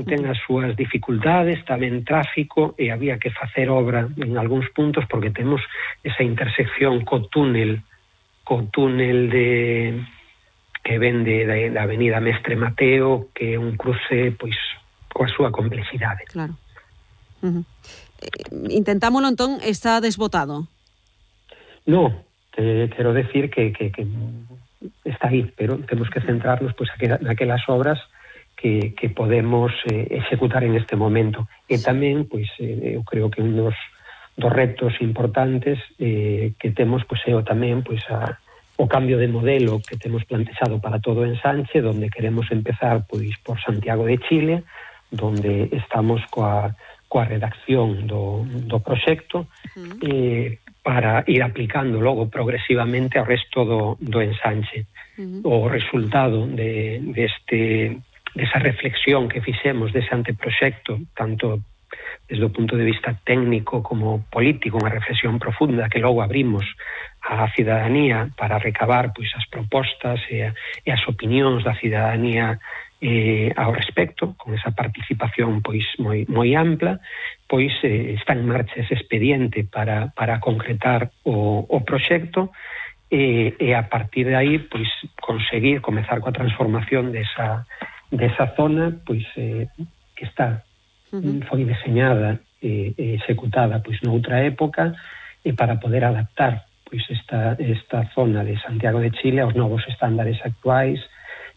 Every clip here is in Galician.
ten as súas dificultades, tamén tráfico, e había que facer obra en algúns puntos porque temos esa intersección co túnel que ven da avenida Mestre Mateo, que é un cruce pois coa súa complexidade. Claro. Intentámolo entón, está desbotado? No, quero decir que está aí, pero temos que centrarnos pois naquelas obras que podemos executar en este momento. E tamén, pois, eu creo que un dos retos importantes que temos pois é tamén pois o cambio de modelo que temos plantexado para todo o ensanche, donde queremos empezar pois por Santiago de Chile, donde estamos coa redacción do proxecto para ir aplicando logo progresivamente ao resto do ensanche. O resultado desa reflexión que fixemos dese anteproxecto, tanto desde o punto de vista técnico como político, unha reflexión profunda que logo abrimos á cidadanía para recabar pois as propostas e as opinións da cidadanía ao respecto, con esa participación pois moi ampla, pois está en marcha ese expediente para concretar o proxecto e a partir de aí pois conseguir comezar coa transformación desa zona pois que está foi deseñada e executada pois noutra época e para poder adaptar pois esta zona de Santiago de Chile aos novos estándares actuais,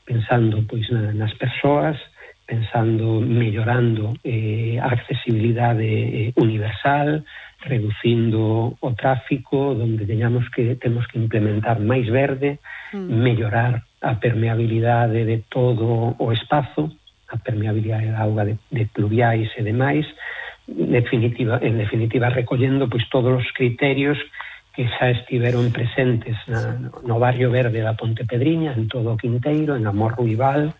pensando pois nas persoas, pensando mellorando a accesibilidade universal, reducindo o tráfico, donde temos que implementar máis verde, mellorar a permeabilidade de todo o espazo, a permeabilidade da auga de pluviais e demais, en definitiva recollendo pois todos os criterios que xa estiveron presentes no barrio verde da Ponte Pedriña, en todo o Quinteiro, en Amor Ruibal,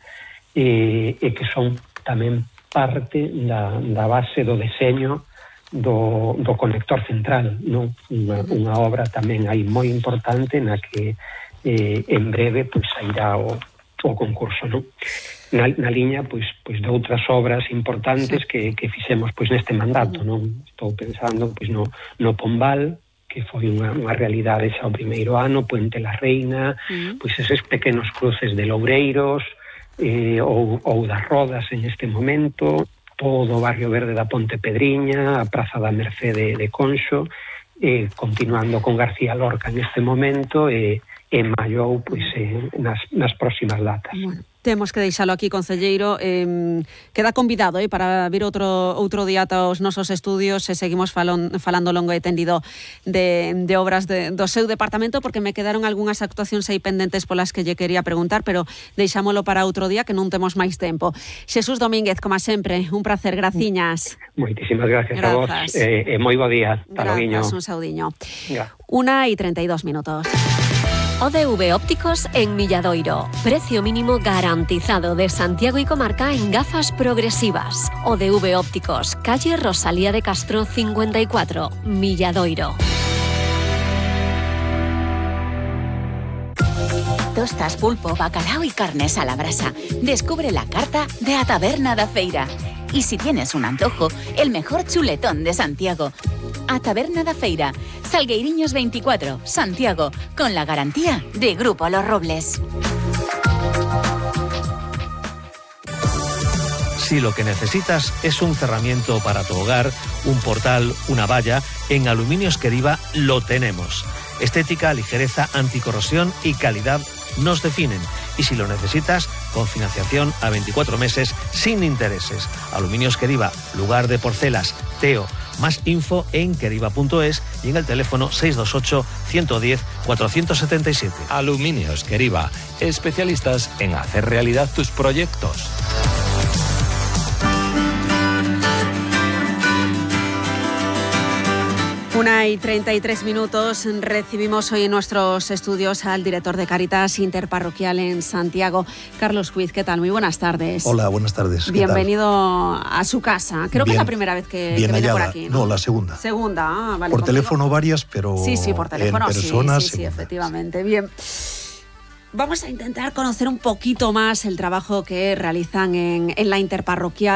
e que son tamén parte da base do deseño do conector central, non? Unha obra tamén aí moi importante na que en breve pois sairá o concurso, non? Na liña pois de outras obras importantes que fixemos pois neste mandato, non? Estou pensando pois no Pombal, que foi unha realidade xa o primeiro ano, Puente la Reina, pois eses pequenos cruces de Loureiros ou das Rodas en este momento, todo o barrio verde da Ponte Pedriña, a Praza da Mercede de Conxo, continuando con García Lorca en este momento e Mallou pois nas próximas datas. Bueno, temos que deixalo aquí, concelleiro. Queda convidado para vir outro día ata os nosos estudios e seguimos falando longo e tendido de obras do seu departamento, porque me quedaron algunhas actuacións aí pendentes polas que lle quería preguntar, pero deixámolo para outro día que non temos máis tempo. Xesús Domínguez, como sempre, un placer, graciñas. Moitísimas gracias a vos e moi bo día. Grazas, un saudiño. 1:32 minutos. ODV Ópticos en Milladoiro. Precio mínimo garantizado de Santiago y comarca en gafas progresivas. ODV Ópticos, calle Rosalía de Castro 54, Milladoiro. Tostas, pulpo, bacalao y carnes a la brasa. Descubre la carta de A Taberna da Feira. Y si tienes un antojo, el mejor chuletón de Santiago. A Taberna da Feira, Salgueiriños 24, Santiago, con la garantía de Grupo Los Robles. Si lo que necesitas es un cerramiento para tu hogar, un portal, una valla, en Aluminios Queriva lo tenemos. Estética, ligereza, anticorrosión y calidad nos definen. Y si lo necesitas, con financiación a 24 meses sin intereses. Aluminios Queriva, lugar de porcelas, Teo. Más info en queriva.es y en el teléfono 628 110 477. Aluminios Queriva, especialistas en hacer realidad tus proyectos. Una y 33 minutos. Recibimos hoy en nuestros estudios al director de Cáritas Interparroquial en Santiago, Carlos Huiz. ¿Qué tal? Muy buenas tardes. Hola, buenas tardes. Bienvenido a su casa. Creo que es la primera vez que viene por aquí, ¿no? No, la segunda. Segunda, vale. Por teléfono varias, pero sí, por teléfono, en persona, sí, efectivamente. Bien. Vamos a intentar conocer un poquito más el trabajo que realizan en la Interparroquial.